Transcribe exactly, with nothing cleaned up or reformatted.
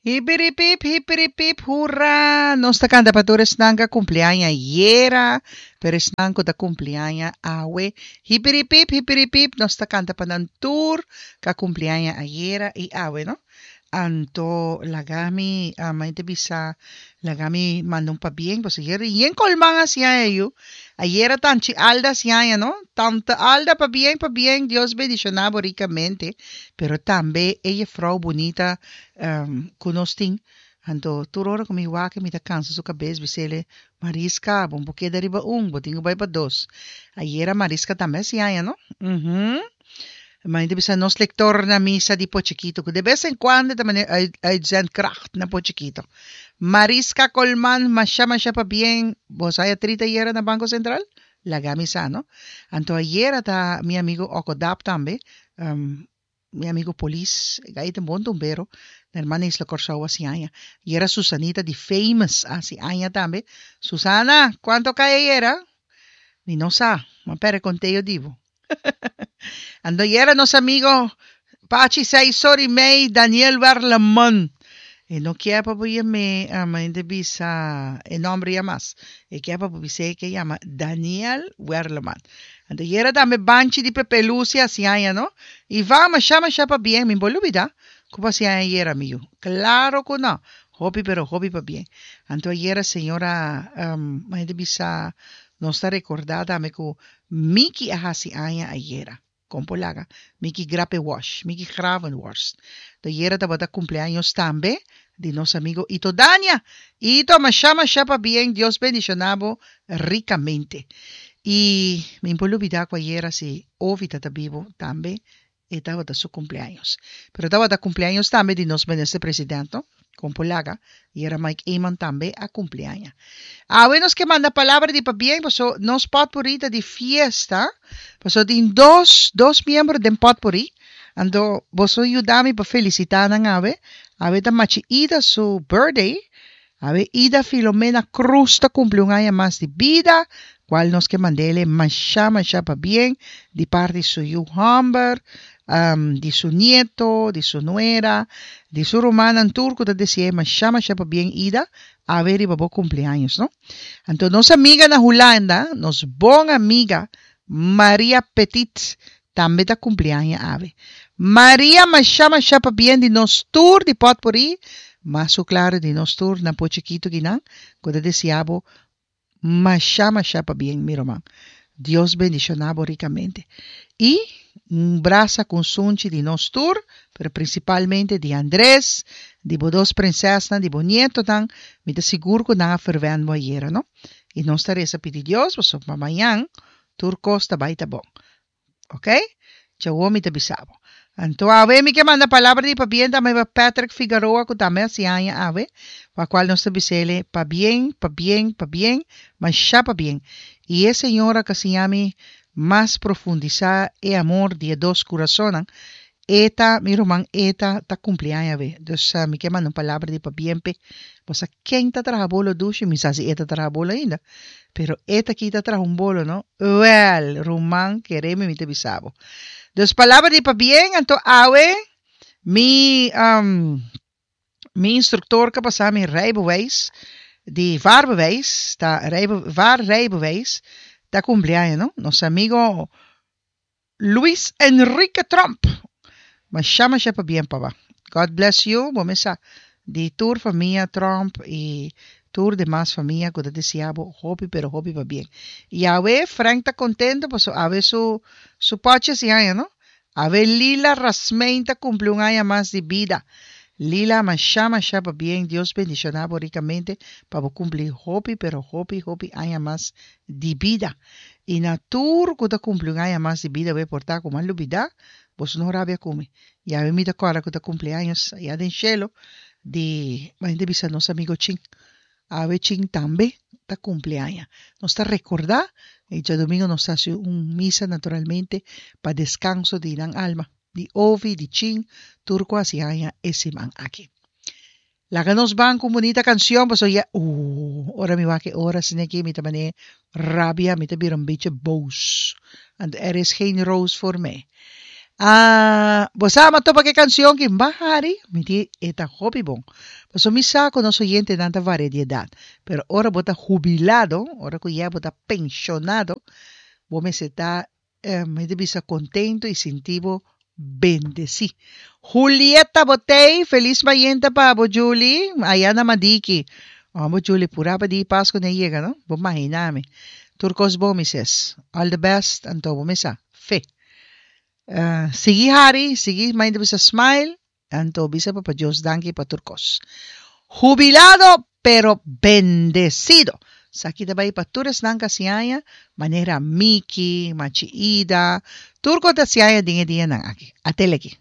Hipiripip, hipiripip, hurra! Nos ta kanta pa tur esnan ku a kumpli aña ayera, pero esnan ku ta kumpli aña awe. Hipiripip, hipiripip, nos ta kanta pa nan tur ku a kumpli aña ayera i awe, no? Anto laga mi, a mi ta bisa, laga mi manda un pabien, pasobra ayera yen Colman a hasi aña yu. Ayera Tanchi Alda a hasi aña, no? Tante Alda, pabien, pabien, Dios bendishoná bo rikamente. Pero tambe e jefrou bunita ku nos tin. Anto tur ora ku mi wak mi ta kansa su kabes bis'el, Mariska, bo no por keda riba un, bo tin ku bai pa dos. Ayera Mariska tambe a hasi aña, no? Uhum. Ma ta bisa nos lector na misa di Pochiquito, ku de bes en cuando ta mane uitzendkracht na Pochiquito. Mariska Colman, masha masha pabien, bo sa haya trita ayera na Banco Central? Laga mi sa, no? Anto ayera ta mi amigo Okodap tambe, mi amigo polis, e gai ta un bon tumbero, na hermana Isla Kòrsou hasi aña. Ayera Susanita di Famous hasi aña tambe. Susana, kuanto kai ayera? Mi no sa, ma pere konteo di bo. Anto ayera nos amigo Pachi seis or y mei Daniel Werleman. E no kier pa bo yam'é, mi ta bisa e nomber ya mas. E kier pa bo bis'é ke yama Daniel Werleman. Anto ayera tambe Banchi di Pepe Lucia hasi aña no. Ivan masha masha pabien, mi bo lubida ku bo hasi aña ayera mi yu. Klaro ku no. Hopi pero hopi pabien. Anto ayera señora, mi ta bisa nos ta recorda tambe ku Miki a hasi aña ayera. Kon por laga Miki Grapewash, Miki Gravenhorst. Ta ayera tabata cumpleaños tambe di nos amigo Ito Dania. Ito, masha masha pabien, Dios bendiciona bo ricamente. Y mi por lubida cu ayera si Ovi ta bibo tambe e tabata su cumpleaños. Pero tabata cumpleaños tambe di nos minister presidente, no? Kon por laga, ayera Mike Eman tambe a cumpli aña. Awe nos ke manda palabra di pabien, paso nos potpourri ta di fiesta, paso tin dos, dos miembro den potpourri, anto boso yuda mi pa felicita nan awe. Awe ta Machi Ida su birthday, awe Ida Filomena Cruz ta cumpli un aña mas di bida, cual nos ke mandele masha masha pabien di parti su yu homber, um, di su nieto, di su nuera, di su rumannan tur ku ta dese'é masha masha pabien Ida, awe riba bo cumpleaños, no? Anto nos amiga na Hulanda, nos bon amiga Maria Petit, tambe ta cumpli aña awe. Maria masha masha pabien di nos tur di potpourri, mas su claro di nos tur na Pochiquito kinan, ku ta desea bo masha masha pabien mi ruman. Dios bendiciona bo ricamente. Y un brasa cu sunchi di nos tur, pero principalmente di Andres, di bo dos prinsesnan, di bo nietonan, mi ta sigur cu nan a ferwen bo ayera, no? Y nos ta reza pidi Dios, pasobra pa mañan tur cos ta bay ta bon. Ok? Djawo mi ta bisa bo. Anto awe mi ke manda palabra di pabien tambe pa Patrick Figaroa ku tambe hasi aña awe, pa kual nos ta bis'ele pabien, pabien, pabien, masha pabien. I e señora ku a siña mi mas profundisá e amor di e dos kurasonnan, e ta, mi ruman, e ta ta kumpli aña awe. Dus mi ke manda un palabra di pabien p'e. Bo sa ken ta traha bolo dushi? Mi sa si e ta traha bolo ainda. Pero e ta kita traha un bolo, no? Wel, ruman, kere mi mi ta bisa bo. Dus palabra di pabien, anto awe mi um, mi instructor ka pasa mi rijbewijs, di vaarbewijs, ta rijbe, vaarrijbewijs, ta cumpleaños, no? Nos amigo Luis Enrique Trump. Masha masha pabien papa. God bless you, bo mesa di tur famia Trump y tur demas famia ku ta desea bo hopi pero hopi pabien. Y awe Frank ta contento paso awe su su pochi hasi aña, no? Awe Lila Rasmijn ta cumpli un aña mas di bida. Lila masha masha pabien, Dios bendiciona bo ricamente pa bo cumpli hopi pero hopi hopi aña mas di bida. Y na tur ku ta cumpli un aña mas di bida we por ta ku m'a lubida, boso no rabia ku mi. Y awe mi ta kòrda ku ta cumpli años allá den cielo di ma hende bisa nos amigo Chin. Awe Chin tambe ta cumpli aña. Nos ta recorda y djadomingo nos ta haci un misa naturalmente pa descanso di nan alma, di Ovi, di Chin, tur ku haci aña e siman aki. Laga nos ban ku un bunita cancion pasobra ya uh ora mi wak e ora asina aki mi ta manera rabia, mi ta bira un beetje boos. Want er is geen roos voor mij. Ah, bo sa m'a topa ku e kansion ku m'a hari, mi di e ta hopi bon. Paso mi sa ku nos oyentenan ta varia di edat. Pero ora bo ta hubilado, ora ku ya bo ta penshonado, bo mester ta eh, mi ta bisa kontentu i sinti bo bendesí. Julieta Botey, felis mainta pa bo Julie, aya na Madiki. Oh, bo Julie, pura pa di Pasku no yega, no? Bo imaginá mi. Tur kos bon, Missus. All the best, anto bo mesa. Fe. Uh, sigui hari, sigui mainta bisa smile, anto bisa papa Dios danki pa tur kos. Jubilado pero bendecido. Esaki ta bai pa tur esnan ku hasi aña, manera Miki, Machi Ida, tur ku ta hasi aña den e dianan aki. Ateleki.